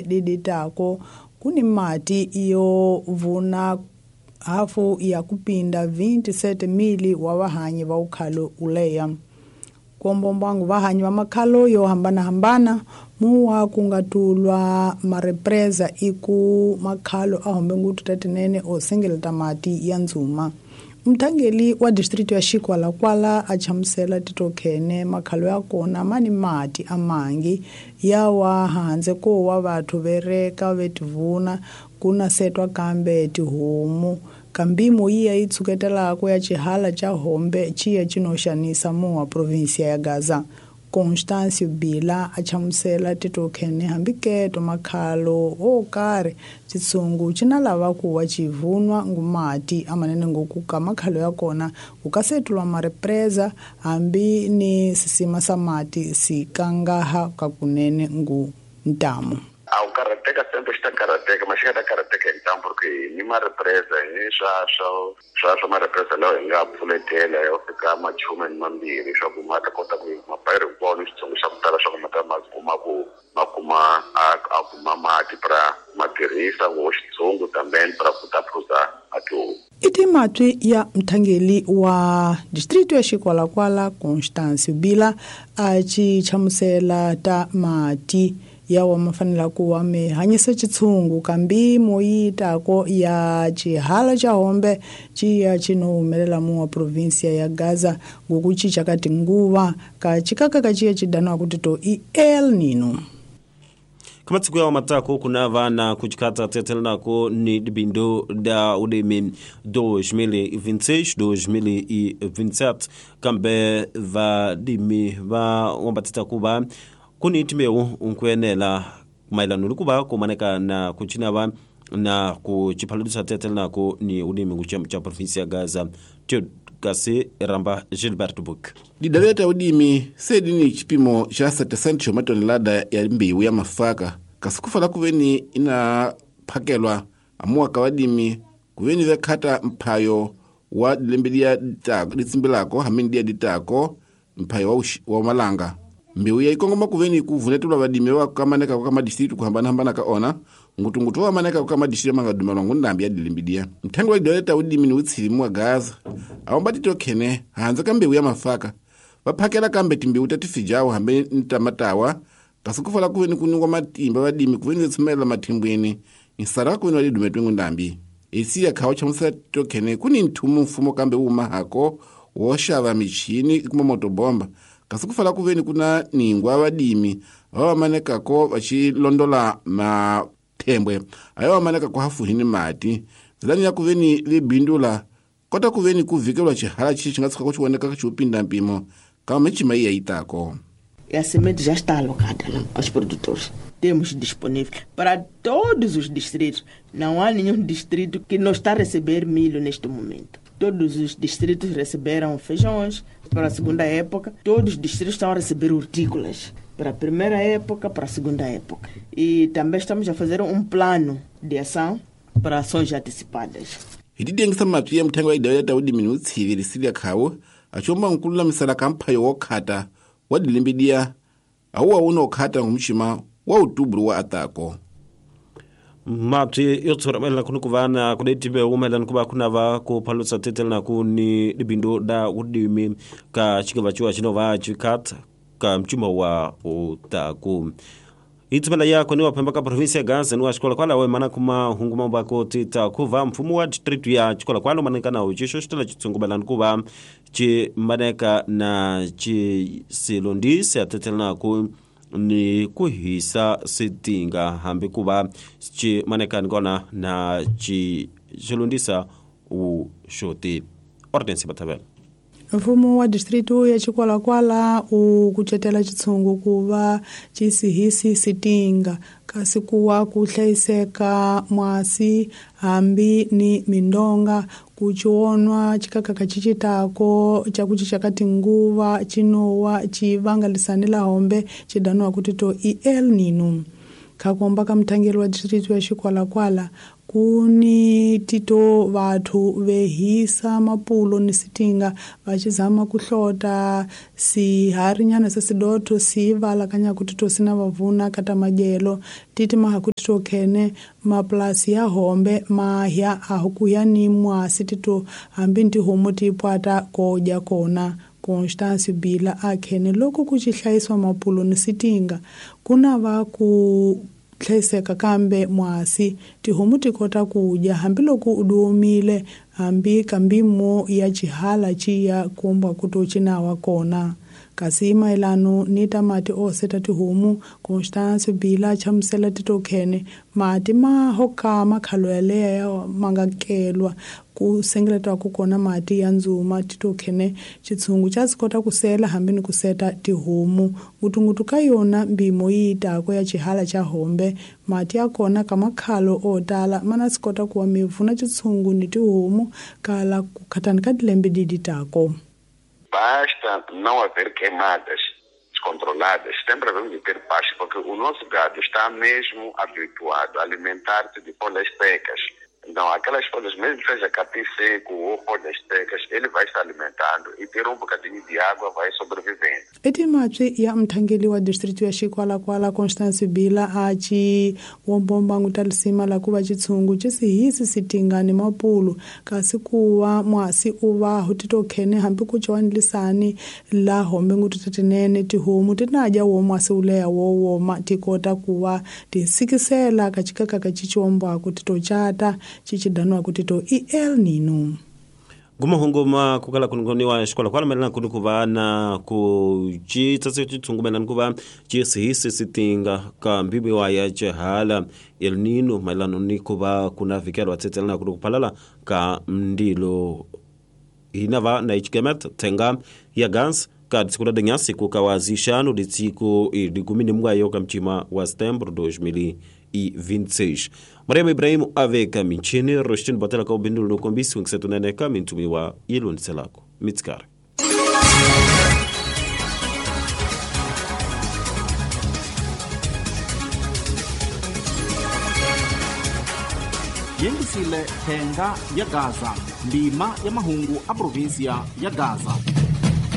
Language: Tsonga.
Diditako kuni mati yo vuna hafu ya kupinda 27,000 wa vahanyi va ukhalo uleya. Kuombombangu vahanyi va makhalo yo hambanahambana muwa kungatulwa marepresa iku makhalo a hombe ngutu tatinene osengeleta mati ya ndzuma. Mthangeli wa distrito ya Xikwalakwala a chamusela titokhene makhalo ya kona mani mati amangi yawa handze ko wa vathu vereka vetivuna kuna setwa kambe tihomu kambimo yiya yi tshuketelako ya xihala xa hombe xiya xinoxanisa muwa provinsia ya Gaza. Constâncio Bila a chamusela titokhene hambiketo makhalo o karhi xitshungu xi na lava ku wa xivunwa ngumati amanene ngoku ka makhalo ya kona ku ka setulwa marepresa hambi ni sisima sa mati si kangaha ka kunene ngu ntamu. A wu karhateka sembe xi ta karhateka ma xi nga ta karhateka hi ntamu porque ni marepresa ni swa marepresa lawa hi nga pfuletela yo fika machume ni mambirhi swa ku ma ta kota ku mapayiri hinkwawo ni xitsongo xa ku tala swa ku ma ta ma kuma ku ma kuma a kuma mati pra ma tirhisa ngo xitsongo tambeni pra ku ta phuza a tihomu. I timatwi ya mthangeli wa distrito ya Xikwalakwala Constâncio Bila a ci chamusela ta mati yawa mafanela ku wa mi hanyisa xitshungu kambi moyitako ya xihala xa hombe xiya xino humelela muwa provinsia ya Gaza ngoku cinca ka tinguva ka xikaka ka xiya xi daniwa ku tito i El Nino. Kamatsiku yawo matako kuna vana kuchikata tetelenako ni dibindo da udimi 2026 2027 kambe vadimi va wambatita kuva kuni timbewu nkuenela maelano ni kuva kumaneka na kuchinava na kuchiphaludisa tetelenako ni udimi kuchiyambo cha provinsia ya Gaza kasi ramba Gilbert Book. Didaleta udimi sedi ni chipimo cha 7 cha matonelada ya mbewu ya mafaka kasi kufala kuveni ina phakelwa amuwa ka vadimi kuveni vekhata mphayo wa dilembe dia ditsimbilako hamini dia ditako mphayo wa malanga. Mbewu ya ikongoma kuveni kuvunetelwa vadimi wa kamaneka kwa madistritu kuhambana-hambana ka ona ngutungutu wa maneka kwa madistritu mangadumelwa ngundambi ya dilimbidia. Mthangi wa didaleta udimi ni utsilimu wa Gaza awomba titokhene hanze ka mbewu ya mafaka vaphakela kambe timbewu ta tifijawo hambi ni ta matawa kasi kufala kuveni kuningwa matimba vadimi kuveni vetsumelela mathimbweni nsara kuveni va didumetwe ngundambi. Esi ya khawa chamusela titokhene kuni nthumu mfumo kambe wumahako wo xava michini kuma motobomba kasi kufala kuveni kuna ningwa vadimi va vamanekako vachilondola mathembwe ayo vamanekako hafuhini mati nzilani ya kuveni vibindula kota kuveni kuvikelwa xihala xi xi nga tshuka ku xi xiupinda mpimo kama michima yi ya yitako. A semente já está alocada lá aos produtores. Temos disponível para todos os distritos. Não há nenhum distrito que não está a receber milho neste momento. Todos os distritos receberam feijões para a segunda época. Todos os distritos estão a receber hortícolas para a primeira época, para a segunda época. E também estamos a fazer um plano de ação para ações antecipadas. Hi didengisa matwi ya muthengi wa idaleta udimi ni utshivi lisilia khawo achomba nkululamisela ka mphayo wokhata wa dilimbidia awuwa una okhata ngumxima wa utubulu wa atako. Mapyi yo tshura mayelana kuni ku va na ku letimbewu mayelana ku va ku na va ku phalusa tetelana ku ni dibindo da udimi ka xikava ciwa xino va xikata ka mcimo wa utaku. Itsumela yako ni waphemba ka provinsia ya Gaza ni wa Xikwalakwala we mana kuma hungu mambako tita kuva mfumo wa district ya Xikwalakwala maneka na uxixo xitela xitshungumelana ku va xi maneka na xisilondisi ya tetelana ku ni ku hisa switinga hambi ku va xi maneka ni kona na xilondisa wuxoti. Ordinance Bathabela. Mfumo wa distrito ya Xikwalakwala u kucetela xitshungu ku va xi sihisi sitinga kasi ku wa ku hlayiseka mwasi hambi ni mindonga ku cionwa xikakaka xi citako xa ku cinca ka tinguva xinowa xi vangalisani la hombe xi daniwa ku tito i El Nino. Khakomba ka mthangeli wa district ya Xikwalakwala kuni tito vathu vehisa mapulo ni sitinga vachizama kuhlota siharinyana sesidotho sivala kanya kutito sina vavuna kata majelo titi mahakutito khene maplasi ya hombe mahya ahukuya ni mwasi tito hambi ntihomu tipwata koja kona. Constance Bila akhene loko kuchihlayiswa mapulo ni sitinga kuna va ku hlayiseka kambe mwasi tihomu tikota kudya hambiloko udiomile hambi kambimo ya chihala chiya kumba kutochinawa kona. Kasi maelano ni tamati oseta tihomu Constance Bila chamusela titokhene mati mahoka makhalo yaleya mangakelwa kusengeletwa kukona mati ya nzuma titokhene chitsungu chasikota kusela hambi ni kuseta tihomu ngutungutu ka yona mbimo yiitako ya chihala cha hombe mati yakona kamakhalo otala mana sikota kuwa mivuna chitsungu ni tihomu kala kukhatani ka dilembe diditako. Basta não haver queimadas descontroladas, sempre havemos de ter paz, porque o nosso gado está mesmo habituado a alimentar-se de folhas secas. Então, aquelas folhas, mesmo que seja capim seco ou folhas secas, ele vai se alimentando e ter um bocadinho de água vai sobrevivendo. Etimatwi ya mthangeli wa district ya Xikwalakwala Constance Bila achi wombomba ngutalisima la kuva chitsungu chisihisi sitingani mapulu kasi kuwa mwasi uva hutitokhene hambi kuchiwanilisani la hombe ngututatinene tihomu tinaja wo mwasi uleya wowoma tikota kuwa tisikisela kachikaka kachichiwombwaku titochata chichidanwa kutito El Nino. Gumahunguma kukala kunungoniwa Xikwalakwala melana kuni kuva na kuchitsatsa chitsungu melana kuva chisihisi sitinga ka mbibiwa ya chihala El Nino melana ni kuva kuna vikelwa tsetselana kuni kuphalala ka mndilo hinava na ichikemet thenga ya gans ka tsiku la dinyasi kukawazixano litsiko likumi ni mwayo ka mchima wa setembro 2026. Mariam Ibrahim aveka minchini Rostin batela ka ubindu lokombisi wengisetunene ka mintumi wa ilonselako mitskare. Yengisile thenga ya Gaza, ndima ya mahungu a provinsia ya Gaza.